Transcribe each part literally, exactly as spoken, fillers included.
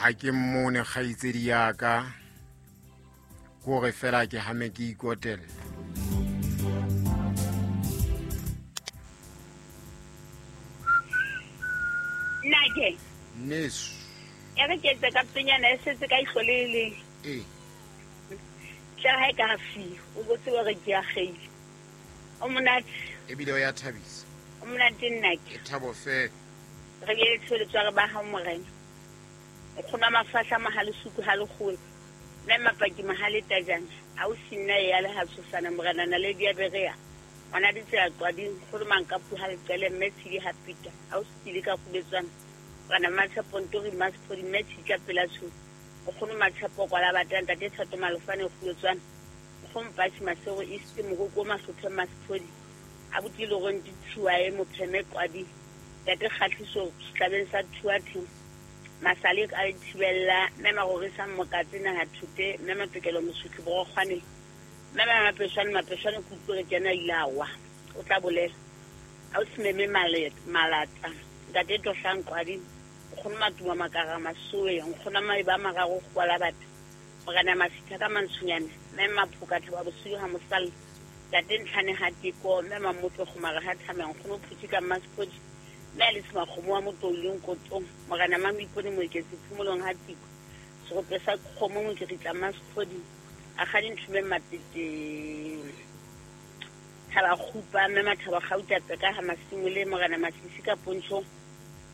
Ha ke mmone kgaitsedi ya ka, kore fela ke hame ke ikotella. Nake. Neso. Ya re ke etsa ka penyana e setse ka ihlo le le. Eh. Tla ha e ka fi, o botse wa re ke a kgeile. O monate. Ebile o ya thabisa. O monate nnake. Ke thabo fela. Re ye tsholetswa re ba ha morena. O kgona mafahla mahale suku ha le kgolo. Mme mapaki mahale tajana. A o sinna ya le ha tshosana morena na le dia berea. Ona ditsela qwading kgolo manka pu ha le qele mme tshidi ha pita. A o sile ka kubetswana. Bana matshepo ntori masphodi mme tshika pela tsho. O kgona matshepo kwa la batang tate thato malofane kgolotswana. O kgona mpatsi masego iste mogoko masothe masphodi. A botile go ntse tshuwa e mopheme qwadi. Tate kgatliso tlabeng sa thuathe. Masale a thibella mme magorisa mokatse na ha thute mme matokelo mosutli bo kgwane. Mme mapeshwane mapeshwane kutlwe ke yena ilawa. O tla bolela. A o smeme maleta malata. Ntate tohlang qwadi. O kgona matuma makara masoe, o kgona maiba mararo go la batho. Morena masitha ka mantshunyane, mme maphoka thaba bosiu ha mosalla. Ntate ntlhane ha tiko, mme mamotlo go mara ha thame, o kgona phutsi ka masphodi. Mme le tsma kgomo wa motoleng kotong, morena mamipone moeketsi phomolong ha tiko. Serope sa kgomo mo ke ritla masphodi. A ga dinthume matete. Thaba khupa mme mathaba gauta tseka ha masimole morena masisi ka pontsho.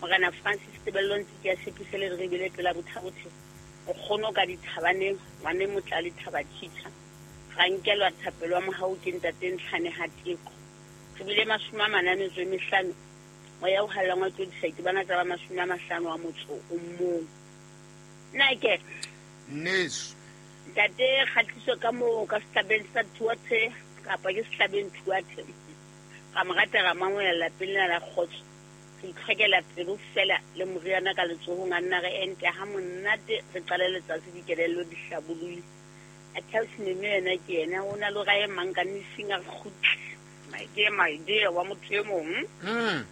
Morena Francis Tebello ntse ke a tshepise le re bile pela bothabothe. O kgono ka dithabaneng, ngwane motla le thaba tshitha. Ga nkelwa thapelo wa mohau ke ntate ntlhane ha teko. Re bile mashome a mane a metso e mehlano. Moya o hallang wa tlodisa ke bana tsa ba mashome a mahlano a motso o mong. Nake. Neso. Ntate kgatliso ka moo ka sehlabeng sa thuathe kapa ke sehlabeng thuathe. Ka mo rata ra mangwela lapeng lena la kgotso. Re itlhokela pelo fela le moriana ka letsohong a nna re ente ha monate re qale letsatsi dikelello di hlabolole. A tell me yena ke yena o na le ra e mang ka nising a kgutle. My dear, my dear wa motho e mong. Mm.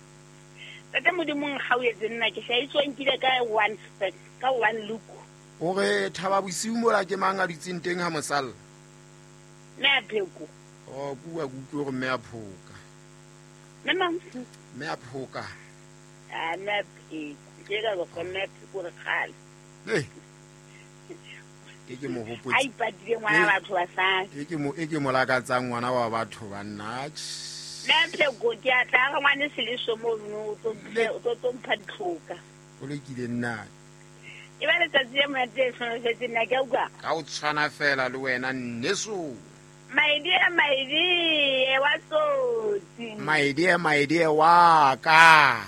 Tata modimong ga o etse nna ke hlaitswa nkile ka one step ka one look. O re thaba bosiu mola ke mang a dutseng teng ha mosalla? Mme a pheko. Oh, bua ke utlwe hore mme a phoka. Mme mang? Mme a phoka. Ah, mme a pheko. Ke ka go mme a pheko re kgale. Eh. Ke ke mo hopotse. A ipatile ngwana batho ba sa. Ke ke mo e ke mo lakatsang ngwana wa batho ba nna. Mme a pheko ke a tla ga ngwane seleso mo no o tlo o tlo tlo mpha ditlhoka. O lekile nna. E ba letsatsi le monate e tshwanetse nna ke a utlwa. Ka o tshwana fela le wena nneso. My dear, my dear, wa tsotsi. My dear, my dear wa ka.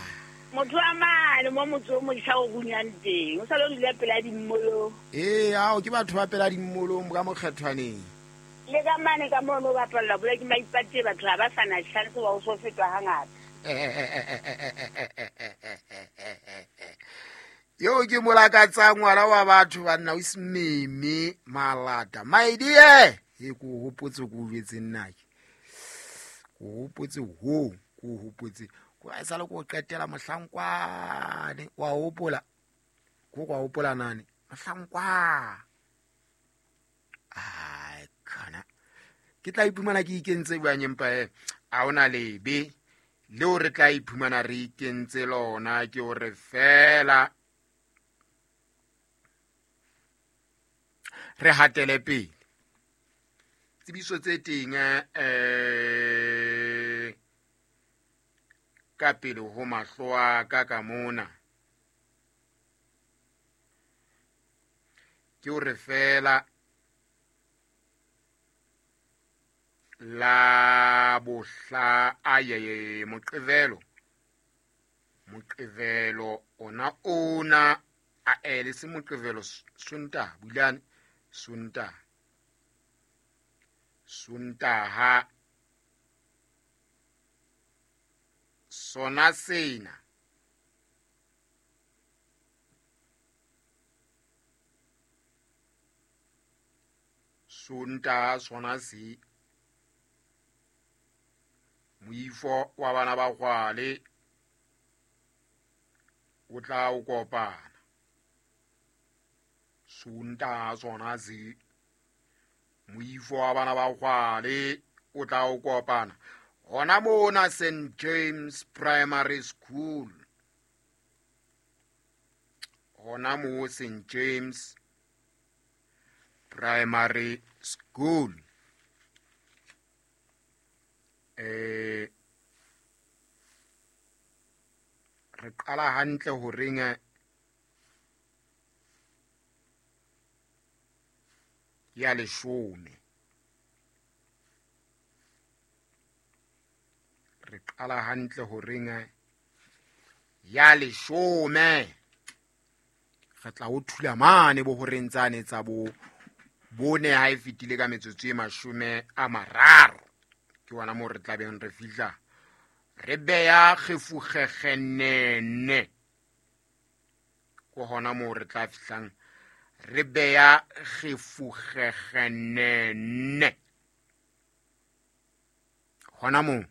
Motho wa mane mo motho o motjha o runyang teng. O sa lo dula pela dimmolong. Eh, ao ke batho ba pela dimmolong ka mokgethwaneng. Le ka mane ka mono ba bapalla bola ke maipate batho ha ba sa na chance wa ho so fetwa hangata. Yo ke molakatsang ngwana wa batho ba nna o smeme malata. My dear, e ko hopotse ko jwetse nna ke. Ko hopotse ho, ko hopotse. Ko a sala ko qetela mohlankwane wa hopola. Ko kwa hopola nane mohlankwa. Ai kana. Ke tla iphumana ke ikentse bua nyempa e. A ona lebe leo re tla iphumana re ikentse lona ke hore fela re hatele pele. Tsebiso tse teng eh ka pele ho mahlo a ka ka mona ke hore fela la bohla aye moqevelo moqevelo ona ona a ele se moqevelo sonta bulane sonta sontaha sona sena sonta sona se moifo wa bana ba kwale o tla o kopana. Sontaha sona se moifo wa bana ba Kgwale o tla o kopana hona mona Saint James Primary School, hona mo Saint James Primary School. Eh re qala hantle horeng ya leshome, re qala hantle horeng ya leshome, re tla o thula mane bo horeng tsane tsa bo bone ha e fetile ka metsotso e mashome a mararo. Ke wona moo re tlabeng re fihla re beya kgefukgekgenene, ke hona moo re tla fihlang re beya kgefukgekgenene hona moo.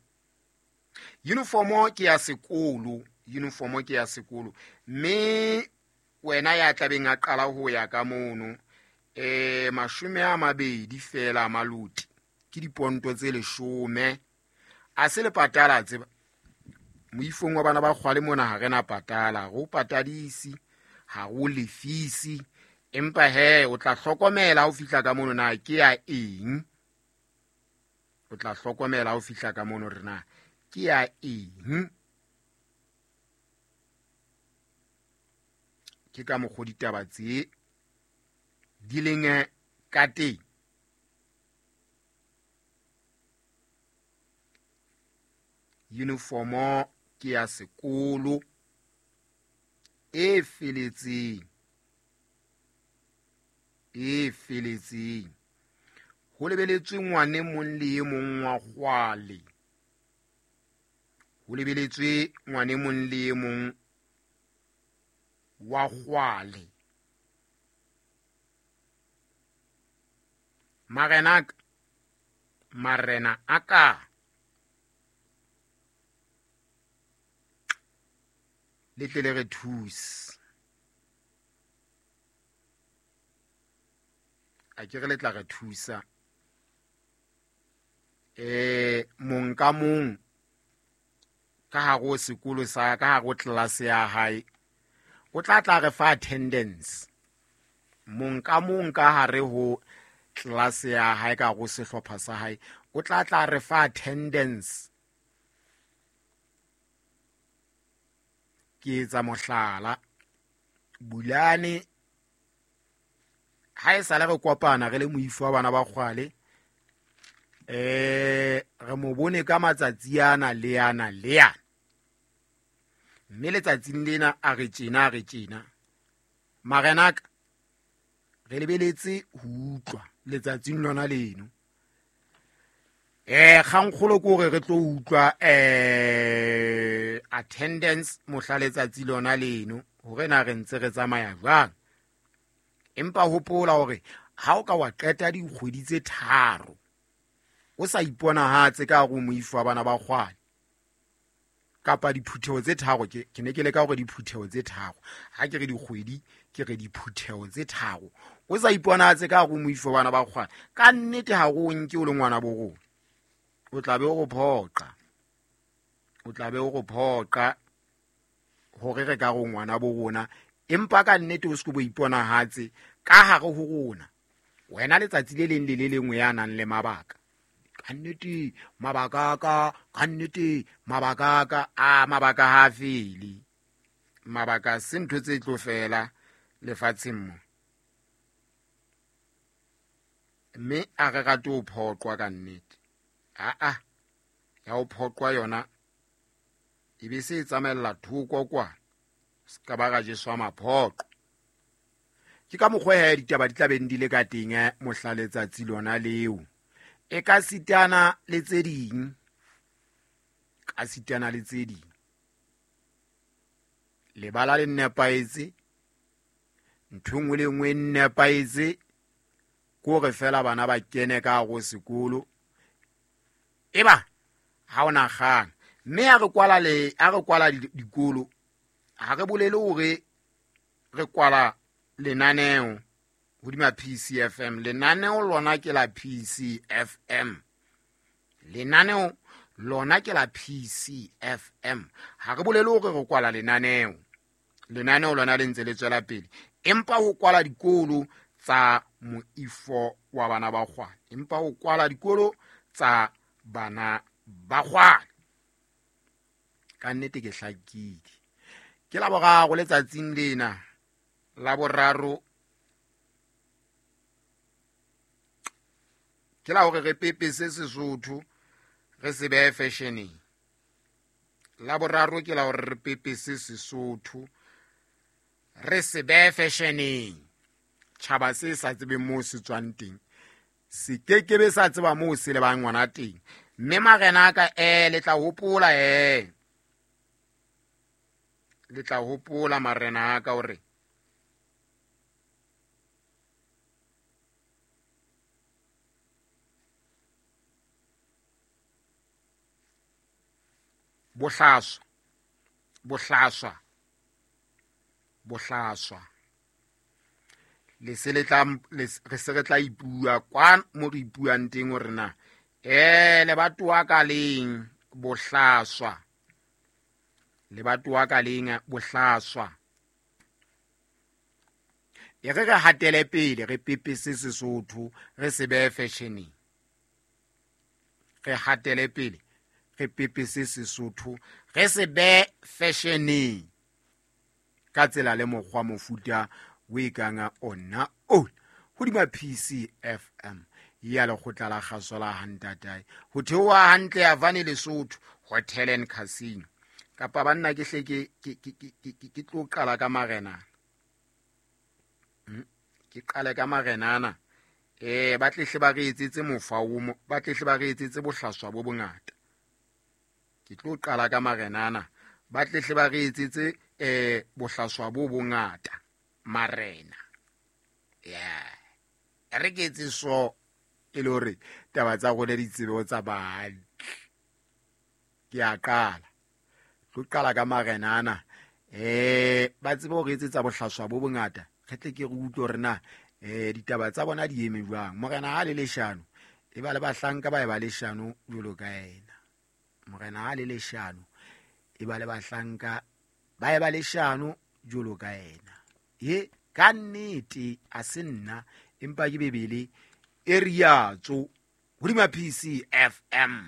Uniformo ke ya sekolo, uniformo ke ya sekolo, mme wena ya tlabeng a qala ho ya ka mono eh mashome a mabedi fela maluti ke diponto tse leshome. A se le patala tseba moifong wa bana ba Kgwale mona ha re na patala, go patadisi ha go lefisi, empa he o tla hlokomela ha o fihla ka mono na ke ya eng, o tla hlokomela ha o fihla ka mono re na ke ya eng. Ke ka mokgwa ditaba tse di leng ka teng. Uniformo ke ya sekolo e feletseng, e feletseng, ho lebeletswe ngwane mong le e mong wa Kgwale, ho lebeletswe ngwane mong le e mong wa Kgwale. Marena marena a ka le tle le re thuse, a ke re le tla re thusa. Eh mong ka mong ka hare ho sekolo sa ka hare ho tlelase ya hae o tla tla re fa attendance. Mong ka mong ka hare ho tlelase ya hae ka hare ho sehlopha sa hae o tla tla re fa attendance. Ke etsa mohlala, Bulane ha e sale re kopana re le moifo wa bana ba Kgwale, eh re mo bone ka matsatsi ana le ana le ana, mme letsatsing lena a re tjena a re tjena. Marenaka re lebeletse ho utlwa letsatsing lona leno. Eh kgankgolo ke hore re tlo utlwa eh attendance mohla letsatsi lona leno hore na re ntse re tsamaya jwang. Empa hopola hore ha o ka wa qeta dikgwedi tse tharo o sa iponahatse ka hare ho moifo wa bana ba Kgwale kapa diphutheho tse tharo, ke ke ne ke leka hore diphutheho tse tharo, ha ke re dikgwedi ke re diphutheho tse tharo, o sa iponahatse ka hare ho moifo wa bana ba Kgwale, ka nnete ha o nke o le ngwana bo rona, o tla be o go phoqa, o tla be o go phoqa hore re ka re ngwana bo rona, empa ka nnete o se ke bo iponahatse ka hare ho rona. Wena letsatsi le leng le le lengwe ya nang le mabaka, ka nnete mabaka ka ka nnete mabaka ka a mabaka ha fele, mabaka se ntho tse tlo fela lefatsheng mo, mme a re rate ho phoqwa ka nnete. A a ya ho phoqwa yona e be se e tsamaella thoko kwa, se ka ba ra jeswa maphoqo. Ke ka mokgwa he ditaba di tla beng di le ka teng mohla letsatsi lona leo, e ka sitana le tse ding, ka sitana le tse ding. Lebala le nepahetse, ntho e nngwe le e nngwe e nepahetse, ke hore fela bana ba kene ka hare ho sekolo eba ha ona kgang. Mme ha re kwala le ha re kwala dikolo, ha re bolele hore re kwala lenaneo, Hodima P C F M. Lenaneo lona ke la P C F M. Lenaneo lona ke la P C F M. Ha re bolele hore re kwala lenaneo. Lenaneo lona le ntse le tswela pele. Empa ho kwala dikolo tsa moifo wa bana ba kgwane. Empa ho kwala dikolo tsa bana ba kgwane. Ka nnete ke hlakile. Ke la boraro letsatsing lena. La boraro ke la hore re pepese Sesotho re se behe fashioneng. La boraro ke la hore re pepese Sesotho re se behe fashioneng. Tjhaba se sa tsebeng moo se tswang teng se kekebe sa tseba moo se lebang ngwana teng. Mme marena a ka eh le tla hopola eh le tla hopola marena a ka hore bohlaswa bohlaswa bohlaswa le se le tla re se re tla ipua kwa mo re ipuang teng hore na eh le batoa ka leng bohlaswa le batoa ka leng bohlaswa. E re re hatele pele re pepese Sesotho re se behe fashioneng. Re hatele pele re pepese Sesotho re se behe fashioneng ka tsela le mokgwa mofuta o e kang ona o hodima P C F M ya lekgotla la kgaso la Hantatae ho theoha hantle ya Vane Lesotho Hotel and Casino. Kapa banna ke hle ke ke ke ke tlo qala ka marena. Ke qale ka marenana eh ba tlehle ba re etsetse mofa o ba tlehle ba re etsetse bohlaswa bo bongata. Ke tlo qala ka marenana ba tlehle ba re etsetse eh bohlaswa bo bongata marena. Yeah re ke etse so e le hore taba tsa rona di tsebe tsa ba. Ke a qala tlo qala ka marenana eh ba tsebe hore etsetsa bohlaswa bo bongata. Re tle ke re utlwe hore na eh ditaba tsa bona di eme jwang. Morena ha le leshano e ba le bahlanka ba e ba leshano jwalo ka yena. Morena ha le leshano e ba le bahlanka ba e ba leshano jwalo ka yena. He ka nnete a se nna empa ke Bebele e riatso hodima P C F M.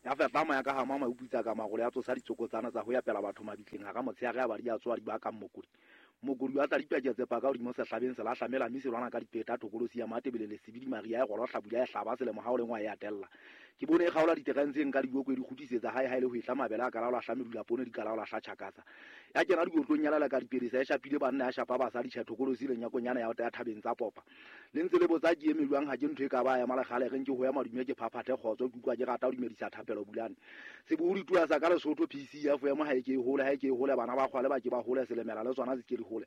Ya fepa moya ka ha mama o putsa ka magolo ya tsosa ditsokotsana tsa ho ya pela batho mabitleng ha ka motshehare ba di a tswa di ba ka mokodi. Mokodi wa tla dipaketse pa ka hodimo sehlabeng se la hlamela mme se lwana ka dipeta thokolosi ya Matebele le Sebidi Maria e golo hlabula ya hlaba selemo ha o lengwa ya atella. Ke bone e kgaola diterentseng ka diboko e di kgutisetsa hae hae le ho etla mabele a kalaola hlamedula poone di kalaola hla tjhakasa. Ya kena dikotlong ya lala ka diperesa e shapile banna ya shapa basadi tjha thokolosi le nyakonyana ya ya thabeng tsa popa. Le ntse le botsa ke eme jwang ha ke ntho e ka ba ya malekgale re nke ho ya madume ke phaphathe kgotso ke utlwa ke rata ho dumedisa thapelo bulane. Sebohodi tua sa ka Lesotho P C F M ha e ke e hole ha e ke e hole bana ba kgwale ba ke ba hole selemela le tsona se ke di hole.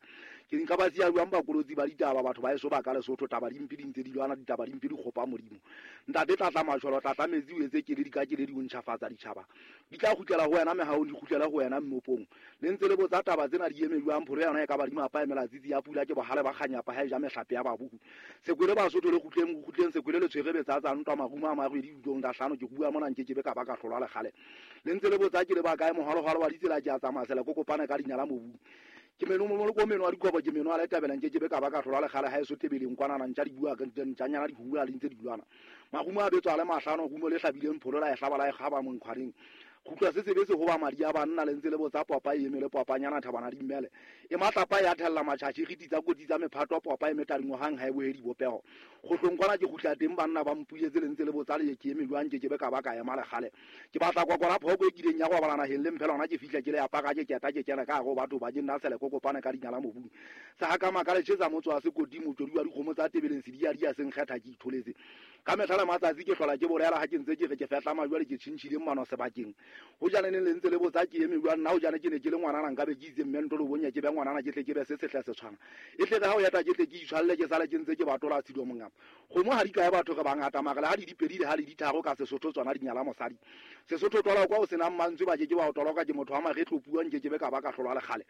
Ke nka ba siya jwang bakolotsi ba ditaba batho ba eso ba ka Lesotho taba dimpe di ntse di lwana ditaba dimpe di kgopa Modimo. Ntate tlatla matjholo tlatla metsi o etse ke le di ka ke le di o ntjhafatsa ditjhaba. Di tla kgutlela ho wena mehao di kgutlela ho wena mmopong. Le ntse le botsa taba tsena di eme jwang pholo yona e ka ba di mapa emela tsitsi ya pula ke bohale ba kganyapa ha e ja mehlape ya babuku. Sekwele Basotho le kgutleng kgutleng sekwele le tshwere betsa tsa ntwa marumo a marwedi dutong da hlano ke bua mona nke ke be ka ba ka hlolwa le kgale. Le ntse le botsa ke le ba kae mohalohalo wa ditsela ke a tsamaya sela kokopana ka dinyala mobu. Ke meno mo mo meno a dikobo ke meno a le tabela nke ke be ka ba ka hlolwa le kgale ha e so tebeleng kwana na ntja di bua ka ntjanyana di hula le ntse di lwana. Marumo a betswa le mahlano rumo le hlabileng pholo la e hlaba la e kgaba monkhwareng. Kgutla se sebetse ho ba madi a banna le ntse le botsa popa e emele popanyana thabana di mmele. E matlapa ya thella matjhatjhi re titsa kotsi tsa mephato popa e metadingwa hang ha e bohedi bopeho. Kgohlong kwana ke kgutla teng banna ba mpuletse le ntse le botsa le ke eme jwang ke ke be ka ba ka ema le kgale. Ke batla kwa kwana phoko e kileng ya go balana heng le mphela hona ke fihla ke le ya paka ke keta ke kena ka go batho ba ke nna sele kokopana ka dinyala mobung. Sa ha ka makale tjhetsa motso wa sekoti motswedi wa dikgomo tsa tebeleng se di a di a seng kgetha ke itholetse. Ka mehla le matsatsi ke hlola ke bolela ha ke ntse ke re ke fehla majwale ke tjhintjhile mmano sebakeng. Ho jane ne le ntse le botsa ke eme jwang nna ho jane ke ne ke le ngwanana nka be ke itse mme ntlo bonya ke be ngwanana ke tle ke be se sehle se tshwana. E tle ha o yata ke tle ke itshwalle ke sale ke ntse ke batola tshido mongama. Kgomo ha di kae batho re bangata mara ha di dipedi le ha di ditharo ka Sesotho tsona di nyala mosadi. Sesotho twala kwa o senang mantswe ba ke ke ba o toloka ke motho wa maretlo puang ke ke be ka ba ka hlolwa le kgale.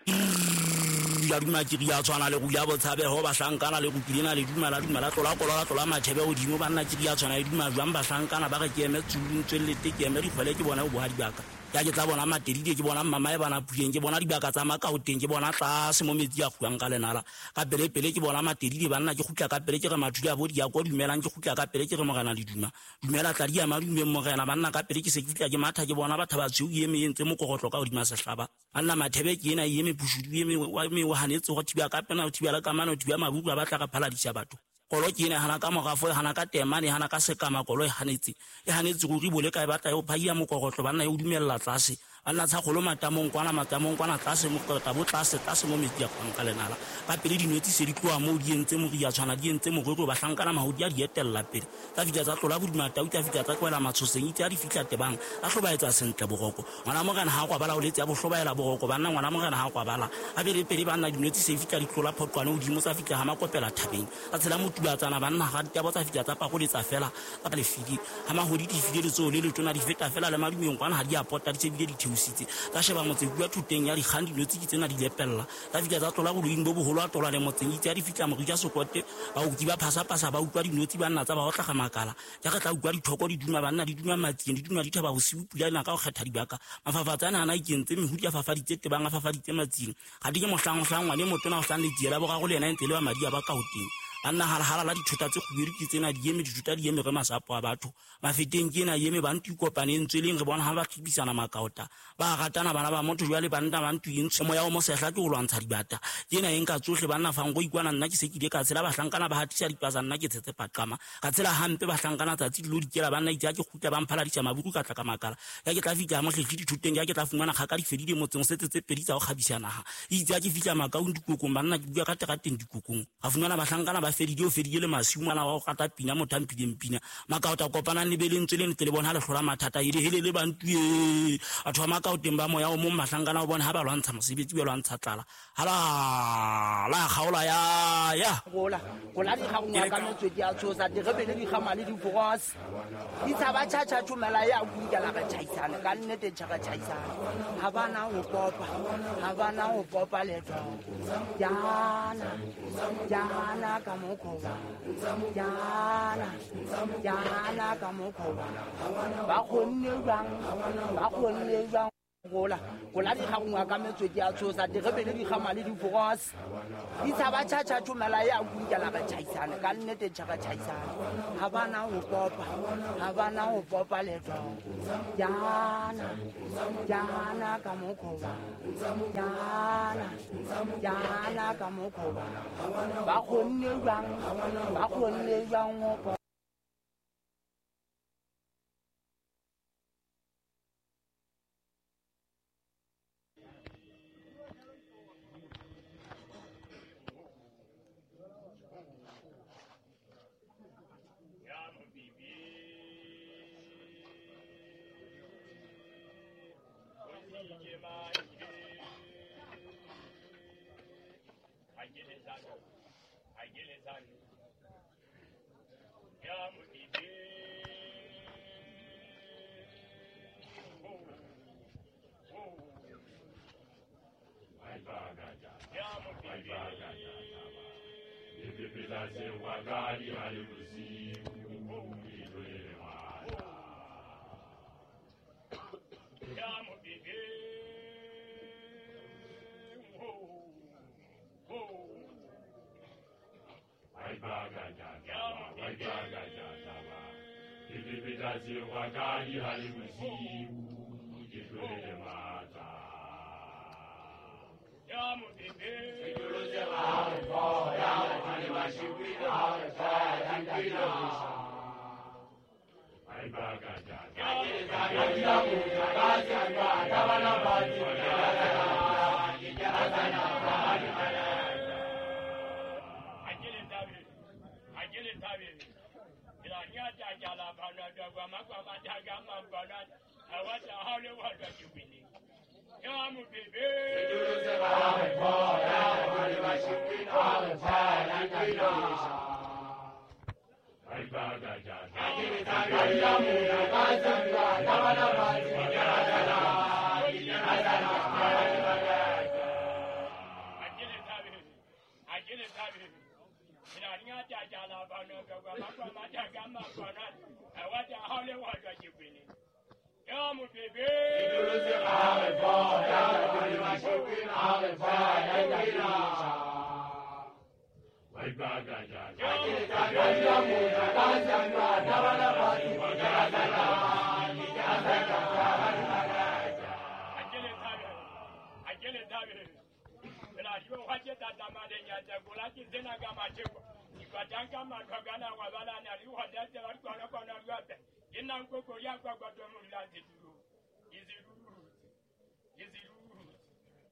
dula duma ke ria tshwana le ruya botshabeho bahlankana le rupilena le duma la duma la tlola kolola tlola mathebe hodimo banna ke ria tshwana le duma jwang bahlankana ba re ke eme tsulung tswellete ke eme dikgwele ke bona bohadi baka ya ke tla bona matedide ke bona mama e bana puleng ke bona dibaka tsa makaoteng ke bona tlase mo metsi a kguang ka lenala ka pele pele ke bona matedide banna ke kgutla ka pele ke re mathuli a bo di ya ko dumelang ke kgutla ka pele ke re morena le duma dumela tla di ya madumeng morena banna ka pele ke se ke fitla ke matha ke bona batho ba tshweu eme e ntse mokogotlo ka hodima sehlaba banna mathebe ke ena eme pushudu eme wa me wa hanetse go thiba ka pena o thiba la kamano o thiba mabuku ba batla ka phaladisa batho kolo ke ena hana ka morafo hana ka temane hana ka sekama kolo e hanetse e hanetse go ribole ka e batla e phaia mokogotlo banna e o dumella tlase banna tsa golo matamong kwana matamong kwana tlase mokota bo tlase tlase mo metsi a kwang ka lenala ka pele dinotsi se di tloa mo di entse moria tshwana di entse morero bahlankana mahodi a di etella pele tsa fitla tsa tlola bodima tau tsa fitla tsa kwela matshoseng itse a di fitla tebang a hlobaetsa sentle boroko ngwana morena ha kwa bala o letse ya bohlobaela boroko banna ngwana morena ha kwa bala a pele pele banna dinotsi se fitla di tlola phoqwane hodimo tsa fitla ha makopela thabeng tsa tshela motubatsana banna ga ditabo tsa fitla tsa pakoletsa fela tsa lefidi ha mahodi di file letsoho le letona di feta fela le madumeng kwana ha di a pota di tsebile di theositse tsa sheba motse bua thuteng ya dikgang dinotsi ke tsena di lepella tsa fitla tsa tlola boloing bo boholo a tlola le motseng itse a di fitla morija sokote ba utlwi ba phasa-phasa ba utlwa dinotsi banna tsa ba otlaga makala ja re tla utlwa dithoko di duma banna di duma matsieng di duma dithaba bosiu pula ena ka go kgetha dibaka mafafatsane ana ikentse mehudi a fafaditse tebang a fafaditse matsieng ga di ke mohlang-mohlang ngwane motona o hlang letsiela bogago le ena e ntse le ba madi a ba ka hoteng banna halahala la dithota tse kgubedu ke tsena di eme dithota di eme re masapo a batho mafeteng ke ena eme bantu ikopane ntsweleng re bona ha ba tlibisana makaota ba ratana bana ba motho jwale banna ba ntu intshe moya o mosehla ke o lwantsha dibata ke ena eng ka tsohle banna fango ikwana nna ke se ke ile ka tshela bahlankana ba hatisa dipasa nna ke tshetse paqama ka tshela hampe bahlankana tsatsi dilo dikela banna itse ke kgutla ba mphaladisa mabuku ka tla ka makala ya ke tla fitla mohlehli dithoteng ya ke tla fumana kgaka di fedile motseng setse tse pedi tsa go kgabisa naha itse ke fitla makaong dikokong banna ke bua ka terateng dikokong ga fumana bahlankana ba fedile o fedile le masiu ngwana wa go rata pina motho a mphileng pina makaota kopanang le belentswe le ntle le bona ha le hlola mathata ele hele le bantu e batho ba makaoteng ba moya o mong mahlankana o bona ha ba lwantsha mosebetsi ba lwantsha tlala hala la kgaola ya ya gola gola di gangwa ka metswedi a tshosa di rebele di gama le diforose di tshaba tjhatjha tshomela ya kunkela re tjhaisana ka nnete tjhaka tjhaisana ha bana ho kopa ha bana ho kopa letho yana yana ka mokhoba yana yana ka mokhoba ba kgonne jwang ba kgonne jwang gola gola di gangwa ka metswedi a tshosa di rebele di gama le diforose di tshaba tjhatjha tshomela ya kunkela re tjhaisana ka nnete tjhaka tjhaisana ha bana ho kopa ha bana ho kopa letho yana yana ka mokhoba yana yana ka mokhoba ba kgonne jwang ba kgonne jwang ho Is it